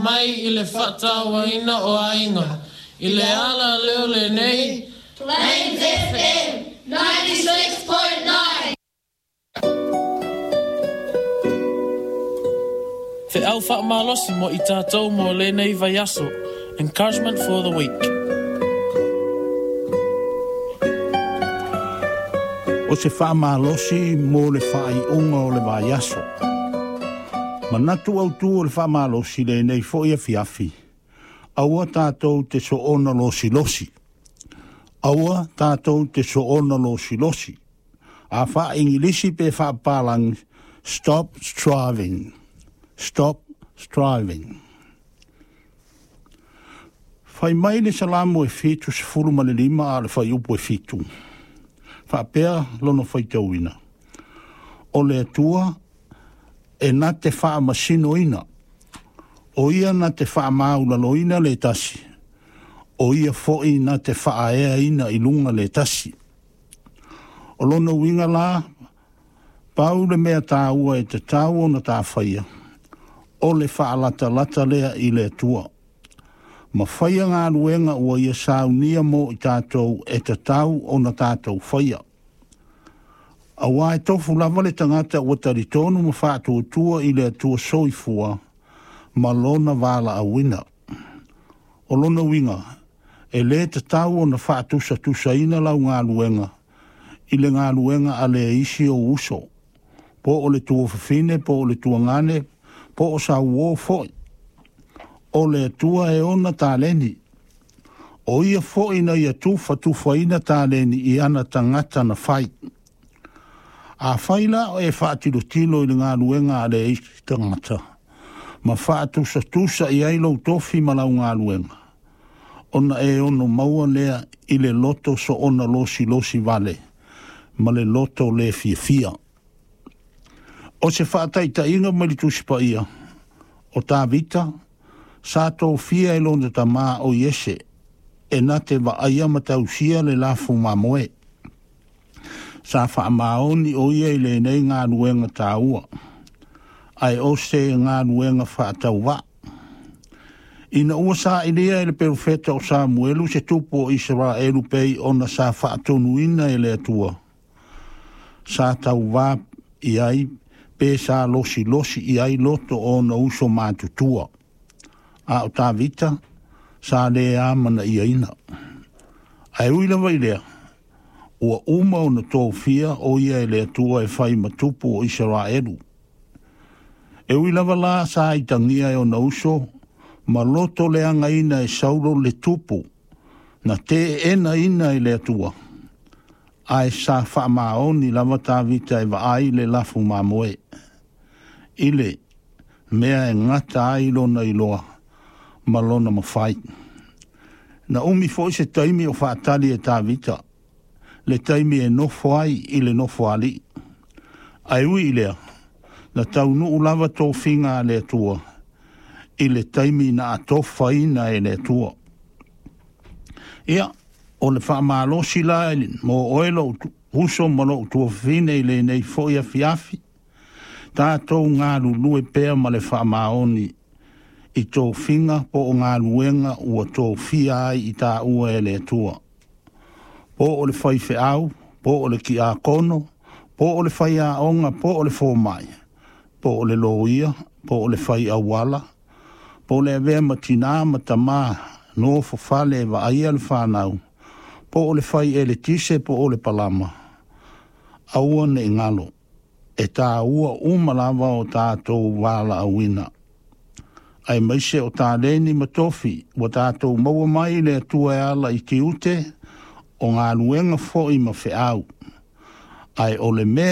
Mai i le faatauaina o aiga i le ala lea o lenei. Plains FM 96.9. Feau faamalosi mo i tatou mo lenei vaiaso. Encouragement for the week. O se faamalosi mo le faaiuga o le vaiaso. Manatu autū o le faamalosi lenei foi afiafi, aua tatou te soona losilosi. Aua tatou te soona losilosi. A faa-Igilisi pe faapapalagi, stop striving. Stop striving. Fai mai le Salamo e 75 a o le fuaiupu e 7. Faapea lona faitauina. O le Atua e na te faamasinoina, o ia na te faamaualaloina le tasi, o ia foi na te faaeaina i luga le tasi. O lona uiga la, pau le mea taua e tatau ona tafaia, o le faalatalata lea i le Atua. Ma faia galuega ua ia saunia mo i tatou e tatau ona tatou faia. Auā e tofu lava le tagata ua talitonu ma faatuatua i le Atua soifua ma lona valaauina. O lona uiga, e lē tatau ona faatusatusaina lau galuega i le galuega a le isi ou uso, po o le tuafafine po o le tuagane po o sau uō foi. O le Atua e ona taleni. O ia foi na ia tufatufaina taleni i ana tagata na fai. Afai la o e faatilotilo i le galuega a le isi tagata, ma faatusatusa i ai lou tofi ma lau galuega, ona e ono maua lea i le loto soona losilosi vale, ma le loto le fiafia. O se faataitaiga mai le Tusi Paia, o Tavita, sa tofia e lona tamā o Iese, e na te vaaia ma tausia le lafu mamoe. Sa faamaoni o ia i lenei galuega taua, ae o se galuega faatauvaa. Ina ua sailia e le perofeta o Samuelu se tupu o Isaraelu pei ona sa faatonuina e le Atua, sa tauvā i ai pe sa losilosi i ai loto o ona uso matutua. A o Tavita, sa le amanaiaina. Ae ui lava i lea, ua uma ona tofia o ia e le Atua e fai ma tupu o Isaraelu. E ui lava la sa itagia e ona uso, ma loto leagaina e Saulo le tupu, na teeenaina e le Atua, ae sa faamaoni lava Tavita e vaai le lafu mamoe, i le mea e gata ai lona iloa ma lona mafai. Na umi foi se taimi o faatali e Tavita, le taimi e nofo ai i le nofoalii. Ae ui i lea, na taunuu lava tofiga a le Atua, i le taimi na atofaina e le Atua. Ia, o le faamalosi la mo oe lou uso ma lou tuafafine i lenei foi afiafi, tatou galulue pea ma le faamaoni i tofiga po o galuega ua tofia ai i taua e le Atua. Po o le faifeau, po o le kiakono, po o le faiaoga, po o le fomai, po o le loia, po o le fai auala, po o le avea ma tinā ma tamā nofo fale e vaaia le fanau, po o le fai eletise po o le palama. Aua ne i galo, e taua uma lava o tatou valaauina. Aemaise o taleni ma tofi ua tatou maua mai i le Atua e ala i tiute o galuega foi ma feau. Ae o le mea